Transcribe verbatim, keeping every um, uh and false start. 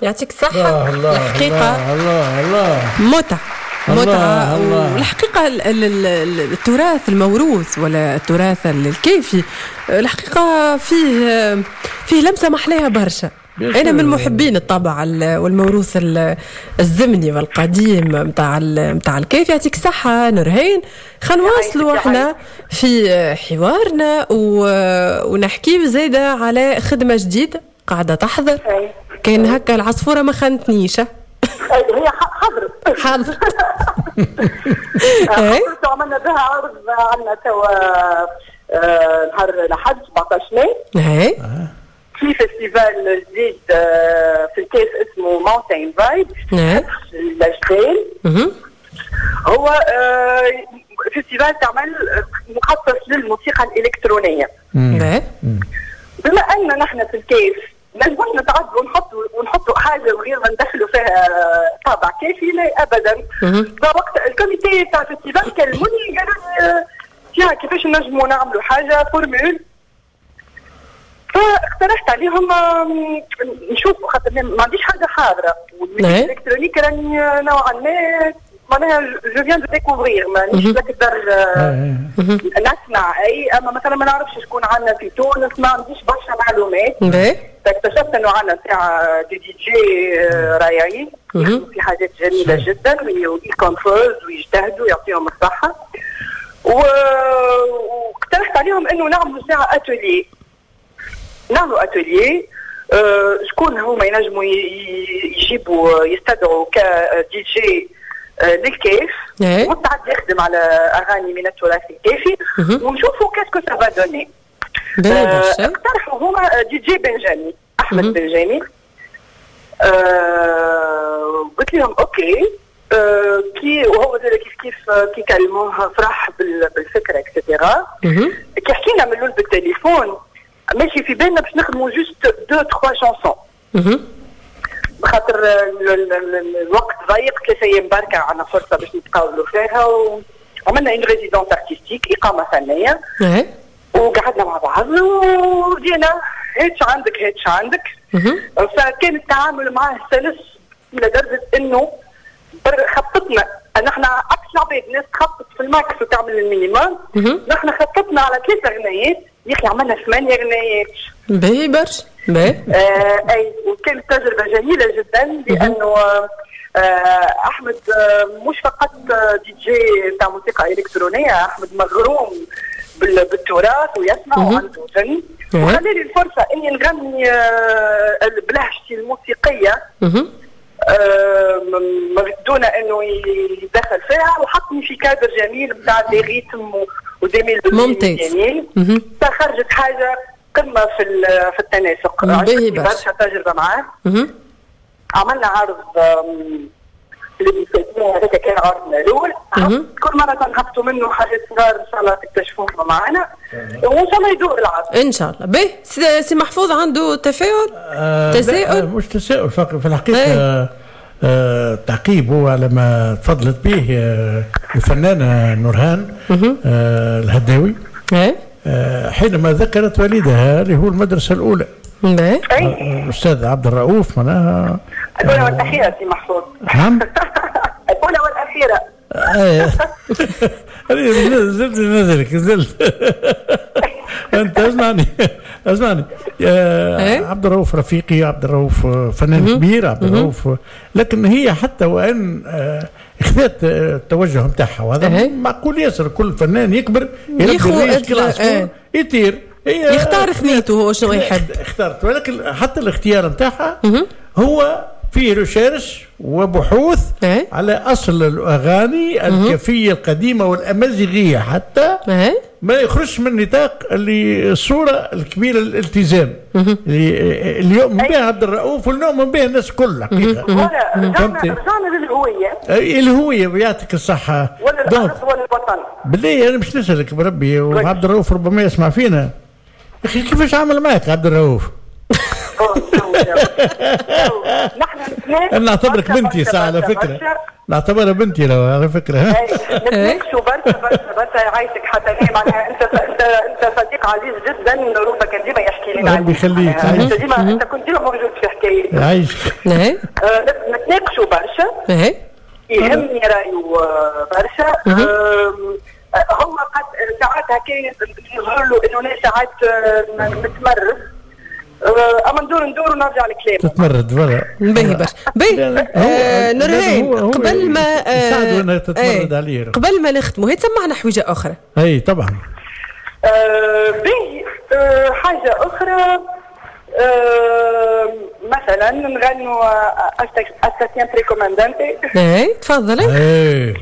يعطيك الصحة. الله الحقيقة الله الله الله متعة متعة. الله. والحقيقة ال- ال- ال- التراث الموروث ولا التراث الكافي الحقيقة فيه فيه لمسة محلاها برشا. أنا من محبين الطابع ال- والموروث ال- الزمني والقديم متاع متاع الكيف. يعطيك الصحة نورهان. خلينا نواصلوا احنا في حوارنا و- ونحكي زايدة على خدمة جديدة قاعدة تحضر. كان هكا العصفورة ما خانتنيش. هي حضرت حاضر. حضرت وعملنا بها عرض عندنا توا آه، نهار الأحد سبعطاش ماي اي في festival جديد آه، في الكاف اسمه Mountain Vibe الأجبال. مهم. هو آه، festival تعمل مخصص للموسيقى الإلكترونية. باهي. بما أن نحن في الكاف نجموش نتعدوا ونحطوا ونحطوا حاجة غير ما ندخلوا فيها طابع كافي، لا ابدا. فوقت ال comité تاع ال festival كلموني قالوا لي يا كيفاش نجموا نعملوا حاجة formule. فاقترحت عليهم آم، نشوفوا خاطر ما عنديش حاجة حاضره، وال musique إيه. électronique راني نوعا ما معناها je viens de découvrir، مانيش نقدر آه، نسمع اي، اما مثلا ما نعرفش شكون عندنا في تونس، ما عنديش برشا معلومات. باهي. فاكتشفت انه عندنا تاع des DJ رائعين يخدموا في حاجات جميلة جدا و ils composent ويجتهدوا يعطيهم الصحة. و- واقترحت عليهم انه نعملوا ساعة اتولي، نعملوا اتولي آه، شكون هما ينجموا ي- ي- يجيبوا يستدعوا كدي جي آه، للكيف إيه. مستعد يخدم على اغاني من التراث الكافي ونشوفوا qu'est-ce que ça va donner. باهي برشا. اقترحوا هما دي جي بنجامي، احمد بنجامي. آه، قلت لهم OK. آه، كي وهو زاد كيف كيف آه، كي كلموه فرح بال- بالفكرة et cetera. مهم. كي حكينا من الاول بالتليفون ماشي في بالنا باش نخدموا juste deux trois chansons، مهم. خاطر ال- ال- ال- الوقت ضيق، ثلاثة ايام بركة عندنا فرصة باش نتقابلوا فيها، وعملنا une résidence artistique اقامه فنية اي وقعدنا مع بعض وبدينا هاتش عندك هاتش عندك. مهم. فكان التعامل معاه سلس الى درجه انه بر- خططنا نحن عكس العباد، الناس تخطط في ال max وتعمل ال minimum، مهم. نحن خططنا على ثلاثة غنايات يا اخي عملنا ثمانية غنايات. باهي برشا. باهي. آه اي، وكانت تجربه جميلة جدا لانه آه احمد آه مش فقط آه، دي جي تاع موسيقى الكترونية، احمد مغروم بال- بالتراث ويسمع وعنده فن، إيه. وخلالي الفرصة اني نغني آه بلهجتي الموسيقية مهم. آه، م- م- دون انه يدخل فيها، وحطني في كادر جميل بتاع des rythmes و- و des mélodies ممتاز. جميل. مهم. فخرجت حاجة قمة في ال- في التناسق. باهي عجبتني برشا. برشا تجربه معاه. مهم. عملنا عرض آم، اللي بيسموه هذاك كان عرضنا الاول. مهم. كل مرة تنهبطوا منه حاجات صغار ان شاء الله تكتشفوهم معنا وان شاء الله يدور العرض. ان شاء الله. باهي. سي سي محفوظ عنده تفاعل؟ آه، لا، تساؤل؟ آه، مش تساؤل فقط في الحقيقة. إيه. آه، آه، تعقيب هو على ما تفضلت به آه، الفنانة نورهان آه، الهداوي اي آه، حينما ذكرت والدها اللي هو المدرسة الأولى باهي. اي آه، الأستاذ عبد الرؤوف معناها. الاولى والاخيرة سي محفوظ. نعم. الاولى والاخيرة. آه. أنا نزلت نزلك نزلت انت اسمعني اسمعني إيه؟ يا عبد الرؤوف رفيقي، عبد الرؤوف فنان كبير، عبد الرؤوف، لكن هي حتى وان آه، اخذت آه، التوجه نتاعها، وهذا إيه. معقول ياسر، كل فنان يكبر يربي يخو الريش أدلى- كل عصفور إيه. يطير، هي يختار ثنيته هو شنو يحب. اختارت، ولكن حتى الاختيار نتاعها هو فيه recherche وبحوث إيه. على اصل الاغاني الكافيه القديمة والامازيغيه حتى اي ما يخرجش من نطاق اللي الصورة الكبيرة الالتزام اللي اللي يؤمن بها عبد الرؤوف واللي يؤمن بها الناس الكل حقيقة. voilà رجعنا فهمتي؟ رجعنا للهوية الهوية يعطيك الصحة. ولا donc الارض ولا الوطن. بالله انا مش نسالك بربي، وعبد الرؤوف ربما يسمع فينا، يا اخي كيفاش عمل معك عبد الرؤوف؟ نحن انا نعتبرك بنتي ساعة على فكرة، نعتبرها بنتي لو على فكرة. نتناقشوا برشا برشا برشا. يعيشك حتى انا، معناها انت انت انت صديق عزيز جدا، روبا كان ديما يحكي لنا. ربي يخليك. انت ديما، انت كنت ديما موجود في حكايتي. يعيشك. نتناقشوا برشا، يهمني رايه برشا. هو قد ساعات هكا يظهر له انه انا ساعات متمرد، اما ندور ندور ونرجع لكلامه. تتمرد voilà. باهي برشا، باهي. آه نورهان، قبل ما آه تتمرد عليه. قبل ما نختموا، هي تسمعنا حويجه اخرى. اي طبعا. آه باهي، آه حاجة اخرى، آه مثلا نغنوا Hasta siempre comandante. اي تفضلي. اي.